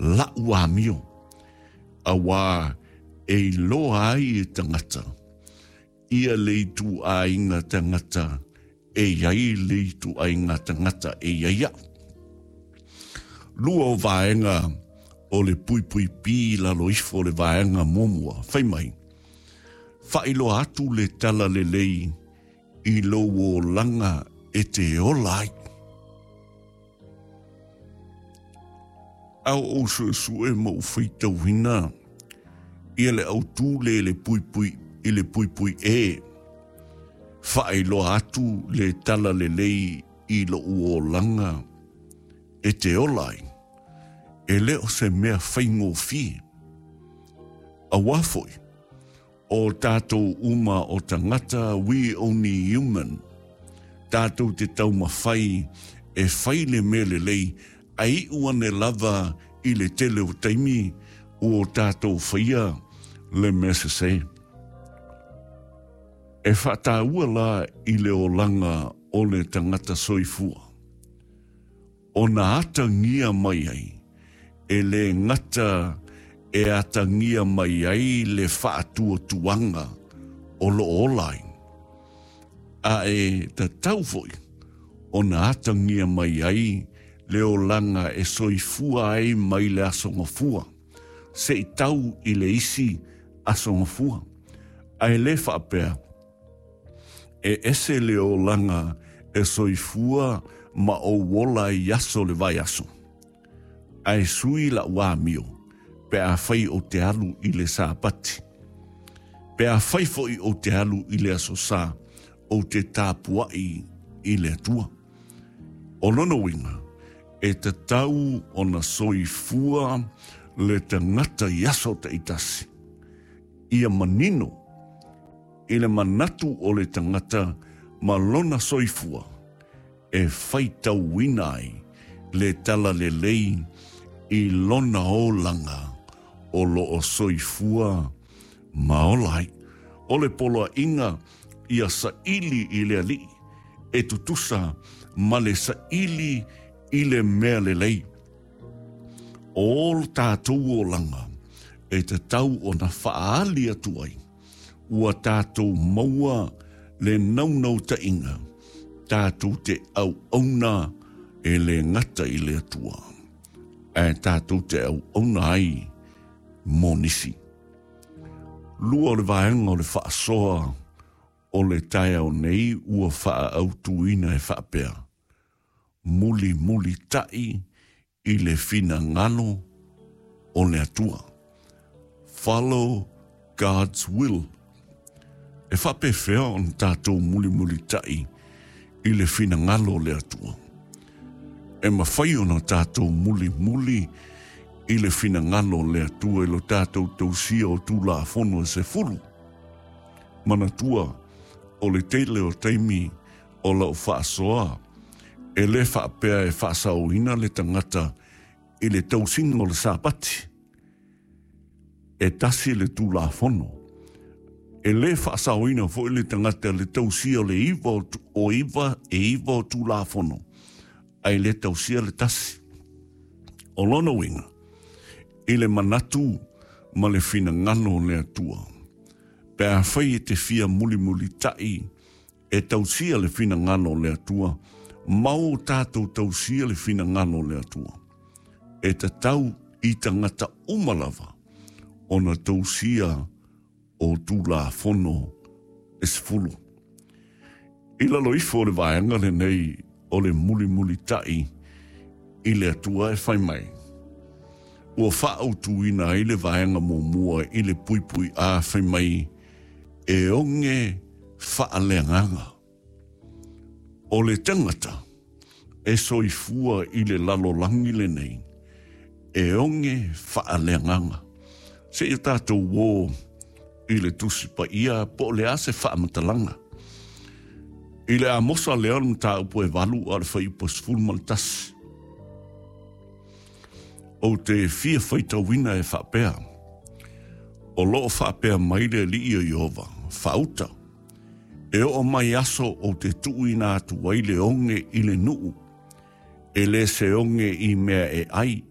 la'u amio, auā e iloa ai e tagata ia le ituaiga tagata e i ai le ituaiga tagata e i ai a'u. Lua o vaega o le puipui P i lalo ifo o le vaega muamua, fai mai, Faailoa atu le talalelei i lou olaga e te ola ai. A o ou suesue ma ou faitauina ia le autū le i le puipui i le puipui E, faailoa atu le talalelei i lou olaga e te ola ai, e le o se mea faigofie. Auā foi, o tātou uma o tagata, we only human, tātou te taumawhai e whai le mea lelei, a iu ane lava i le tele o taimi ua o tātou whaia le mea sesē. E whaataua la i le olaga o le tagata soifua. Ona atagia mai ai, e lē gata e atagia mai ai le faatuatuaga o lo o ola ai, a e tatau foi ona atagia mai ai le olaga e soifua ai mai le Aso Gafua se i tau i le isi Aso Gafua, a e lē faapea E ese le olaga e soifua ma ou ola i aso le vaiaso. Ae sui la'u amio pe afai ou te alu i le Sapati. Pe afai foi ou te alu i le Aso Sa, ou te tapua'i i le Atua. O lona uiga, e tatau ona soifua le tagata i aso ta'itasi, ia manino i le manatu o le tagata ma lona soifua e faitauina ai le talalelei i lona olaga o lo o soifua ma ola ai. O le poloaiga ia saili i le Alii e tutusa ma le saili i le mea lelei. O lo tatou olaga e tatau ona faaali atu ai ua tatou maua le naunautaiga tatou te auauna e lē gata i le Atua, ae tatou te auauna ai mo nisi. Lua o le vaega o le faasoa o le taeao nei ua faaautuina e faapea, Mulimulitaʻi i le finagalo o le Atua. Follow God's will. E faapefea ona tatou mulimulitaʻi i le finagalo o le Atua? E mafai ona tatou mulimuli i le finagalo o le Atua i lo tatou tausia o Tulafono e sefulu. Manatua, o le tele o taimi o lau faasoa, e lē faapea e faasaoina le tagata i le tausiga o le Sapati. E tasi le Tulafono. E lē faasaoina foi le tagata i le tausia o le iva o iva e iva o Tulafono, ae lē tausia le tasi. O lona uiga, i le manatu ma le finagalo o le Atua, pe afai e te fia mulimulitaʻi E tausia le finagalo o le Atua, ma o tatou tausia le finagalo o le Atua. E tatau i tagata uma lava ona tausia o Tulafono e sefulu. I lalo ifo o le vaega lenei o le mulimulitaʻi i le Atua e fai mai, ua faaautuina ai le vaega muamua i le puipui A fai mai, e oge faaleagaga. O le tagata e soifua i le lalolagi lenei, e oge faaleagaga. Seia tatou uō i le Tusi Paia po o le a se faamatalaga. I le Amosa lea o le mataupu e valu a o le fuaiupu e 11. Ou te fia faitauina e faapea, O lo o faapea mai le Alii o Ieova, Faauta, e oo mai aso ou te tuuina atu ai le oge i le nuu, e le se oge i mea e ai,